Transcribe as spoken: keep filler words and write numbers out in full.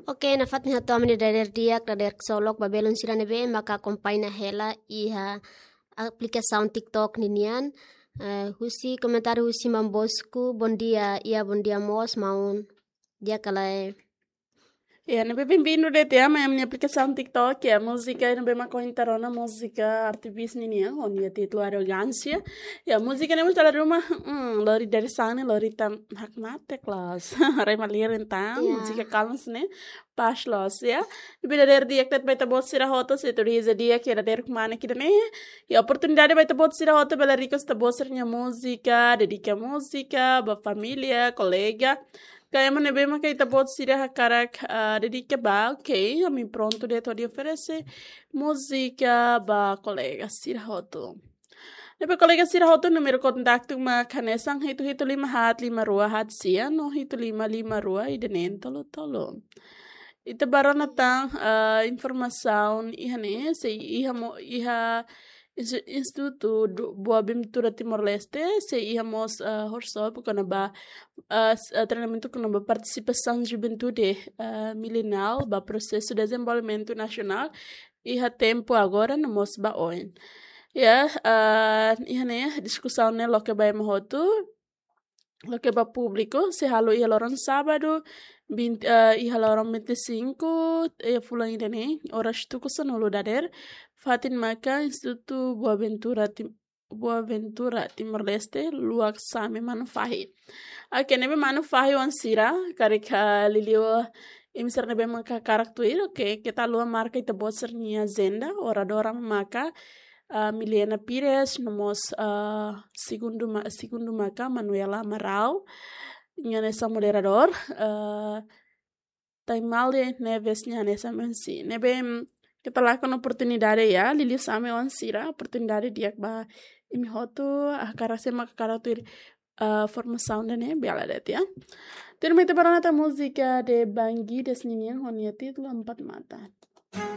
Oke, nafatin hato'o ami-nia dadeer di'ak, dadeer ksolok ba belun sira ne'ebé maka akompaña hela iha aplikasaun TikTok ninian. Eh, husi komentáriu husi Maun Bosco, bom dia, iha bom dia mós, maun. Di'ak ka lae? Ya, ne'ebé bem-vindo de'it mai ami-nia aplikasaun TikTok, ya, múzika ne'ebé mak ohin ita rona múzika Artbeats ninian, ho nia títulu Arrogância. Ya, múzika ne'e mós dala ruma, hmm, lori dadeer-saan ne'e, lori ita hakmatek loos. Rai malirin tan, Ya. múzika kalma ne'e, pás loos, ya. Ne'ebé dadeer di'ak de'it ba ita-boot sira hotu, se tuir iha di'ak iha dadeer kmanek ida-ne'e. Ya, oportunidade ba ita-boot sira hotu, bele request ita-boot sira-nia múzika, dedika múzika ba família, kolega. Ka ema ne'ebé maka ita-boot sira hakarak, ah, dedika ba, oke, ami prontu de'it hodi oferese múzika ba kolega sira hotu. Ne'ebé kolega sira hotu, númeru kontaktu mak hanesan hitu hitu lima haat lima rua haat sia no hitu lima lima rua ida-ne'e tolu tolu. Ita bá rona tan, ah, informasaun iha ne'e, sei iha mo-, iha Insti-, Institutu do Boaventura Timor-Leste, sei iha mós, ah, workshop kona-ba, ah, s-, ah, treinamentu kona-ba partisipasaun juventude, ah, mileniál ba prosesu dezenvolvimentu nasionál iha tempu agora no mós ba oin. Ya, ah, iha ne'e diskusaun ne'e loke ba ema hotu, loke ba públiku, sei halo iha loron sábadu, vinte, eh, iha loron vinte e cinco, eh, fulan ida-ne'e, oras tuku sanulu dadeer, fatin maka Institutu Boaventura Tim-, Boaventura Timor-Leste, luak Same Manufahi. Oke, ne'ebé Manufahi oan sira, karik, ah, liuliu imi sira ne'ebé maka hakarak tuir, oke, keta haluha marka ita-boot sira-nia ajenda, oradora maka, ah, Milena Pires, no mós, ah, segundu ma-, segundu maka Manuela Amaral, nia hanesan moderadór, ah, Taimale Neves nia hanesan M C. Ne'ebé, mm, keta lakon oportunidade ya, liuliu Same oan sira, oportunidade di'ak ba imi hotu, ah, hakarak se maka hakarak tuir, ah, formasaun ida-ne'e, bele de'it ya. Tuirmai ita bá rona tan múzika de Bangui Des ninian ho nia títulu Empat Mata.